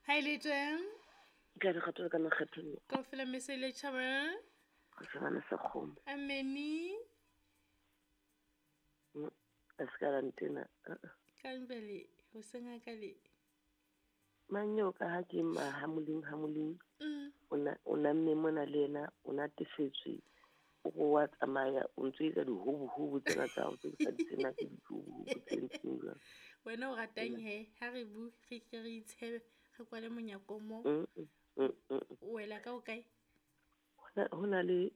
Ha e le teng. Ka re kgatho ka makgethong. Kaofela mme se ile tjhaba. Go tsebana sekgomo. Ameni. A se ka la ntena. Kang jwale ho se ngaka le. Mang eo ka ha ke ma hamoleng hamoleng. O na mme mona le yena o natefetswe. O re wa tsamaya o ntso etsa dihobohobo tsena tsa hao tse ke sa di tsebeng ke dihobohobo tse ntseng jwang. Wena o ratang he ha re bue re ke re itshebe re kwale monyako mo. O wela ka o kae? Ho na le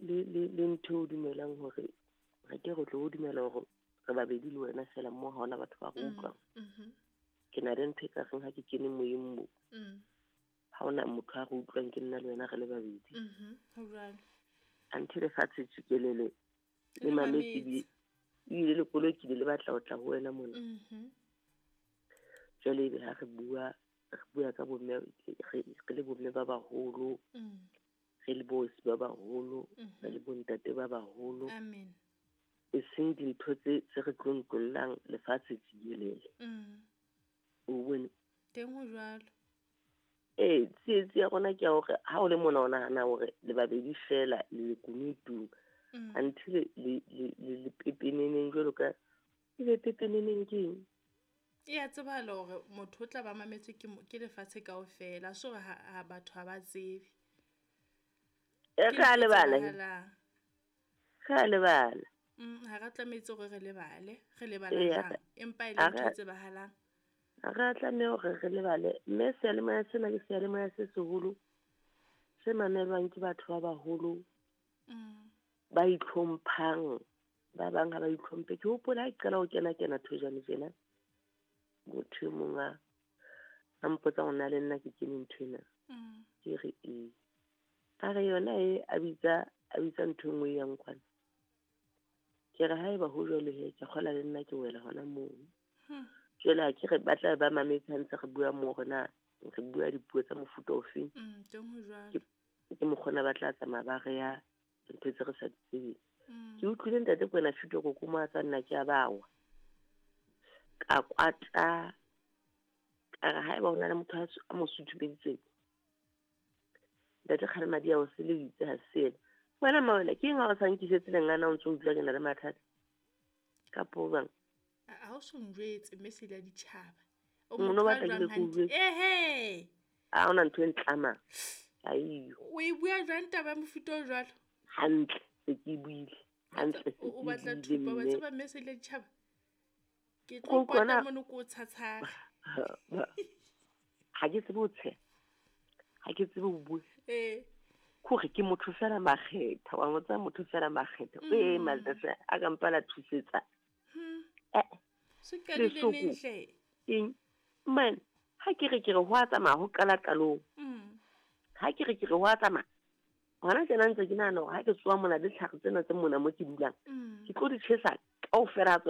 ntho o dumelang hore re ke re tlo o dumela hore re babedi le wena fela mo ha hona batho ba re utlwang. Ke na le ntho e ka reng ha ke kene moyeng mo. Ha hona motho a re utlwang ke nna le wena re le babedi. Ho jwalo. Anthe lefatshe tjikelele le mametse ebile le koloi ke le batla ho tla ho wena mona. Jwale ebe ha re bua ka bomme re le bomme ba baholo. Re le bosi ba baholo, re le bontate ba baholo. Amen. E seng dintho tse re tlontollang lefatshe tjikelele. O bone? Teng ho jwalo. Ee, tsietsi ya rona ke ya hore ha o le mona o nahana hore le babedi fela le lekunutung. Anthe le pepeneneng jwalo ka ebe pepeneneng ke eng? E a tsebahala hore motho o tla ba mametswe ke lefatshe kaofela, so hore ha batho ha ba tsebe. Re a lebala. Re a lebala. Ha re tlametse hore re lebale, re lebala jwang? Empa e le ntho e tsebahalang. Re tlameha hore re lebale mme seyalemoya sena ke seyalemoya se seholo se mamelwang ke batho ba baholo ba itlhomphang, ba bang ha ba itlhomphe. Ke hopola ha ke qala ho kena thojane tjena, motho e mong a mpotsa hore na le nna ke kene ntho ena. Ke re ee. A re yona e a bitsa ntho e nngwe e yang kwana. Ke re haeba ho jwalo he, ke kgola le nna ke wela hona moo. Jwale ha ke re ba tla ba mametse ha ntse re bua moo hore na re bua dipuo tsa mofuta ofeng. Teng ho jwalo. Ke mokgona ba tla tsamaya ba re ya ntho tse re sa di tsebeng. Ke utlwile ntate Kwena Fito ko mo a tsa nna ke a bawa. Ka kwata. Ka re haeba ho na le motho a mo suthubeditseng. Ntate Kgalemadi a o se le itse ha se ena. Wena Mawela, ke eng ha o sa nkisetse lengana o ntso utlwa ke na le mathata? Kapo bang? Ha o so njwetse mme se la ditjhaba. O Mono motho batla a ke jwang le ke hantle? utlwe. Ehe. Ha hona ntho e ntlamang. Aiyo. O e bua jwang taba ya mofuta o jwalo? Hantle, se ke buile. Hantle, se O ke batla buile thupa, wa mme. tseba mme se la ditjhaba? Ke Ko tlo utlwana- kwata mono ko o tshatshara. Ha ke tsebe ho tsheha. Ha ke tsebe ho bua. Ke hore ke motho fela makgetha, wa mo tseba motho fela makgetha. Ee, matsatsi a ka mpa la thusetsa. Se qadile Lesoko. neng hle? Eng? Man, ha ke re ke re ho a tsamaya ho qala qalong. Ha ke re ke re ho a tsamaya. Hona tjena ntse ke nahana hore ha ke tsoha mona le ditlhare tsena tse mona mo ke dulang. Ke tlo di tjhesa kaofela ha tsona.